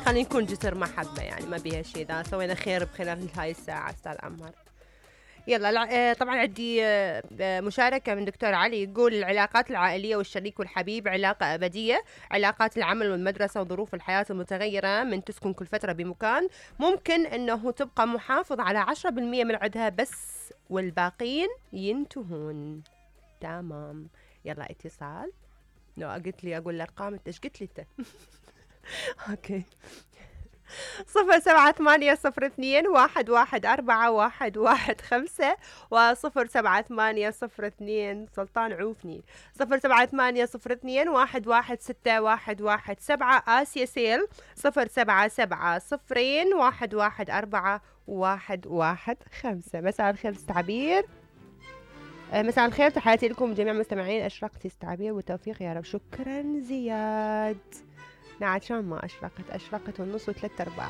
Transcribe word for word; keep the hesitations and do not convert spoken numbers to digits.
خلينا نكون جسر محبة يعني ما بيها شيء، إذا سوينا خير بخلال هاي الساعة أستاذ عمار. يلا طبعا عندي مشاركة من دكتور علي يقول العلاقات العائلية والشريك والحبيب علاقة أبدية. علاقات العمل والمدرسة وظروف الحياة المتغيرة من تسكن كل فترة بمكان ممكن أنه تبقى محافظ على عشرة بالمية من عدها بس والباقين ينتهون. تمام. يلا اتصال. لو قلت لي أقول الأرقام أنت إيش قلت لي أنت؟ أوكي. صفر سبعة ثمانية صفر اثنين واحد واحد أربعة واحد واحد خمسة وصفر سبعة ثمانية صفر اثنين سلطان عوفني صفر سبعة ثمانية صفر اثنين واحد واحد ستة واحد واحد سبعة. آسيا سيل صفر سبعة سبعة صفرين واحد واحد أربعة واحد واحد خمسة. مساء الخير استعبير. مساء الخير، تحياتي لكم جميع المستمعين. أشرقتي استعبير والتوفيق يا رب. شكرا زياد. نعم شلون ما أشرقت أشرقت والنص وثلاث أرباع.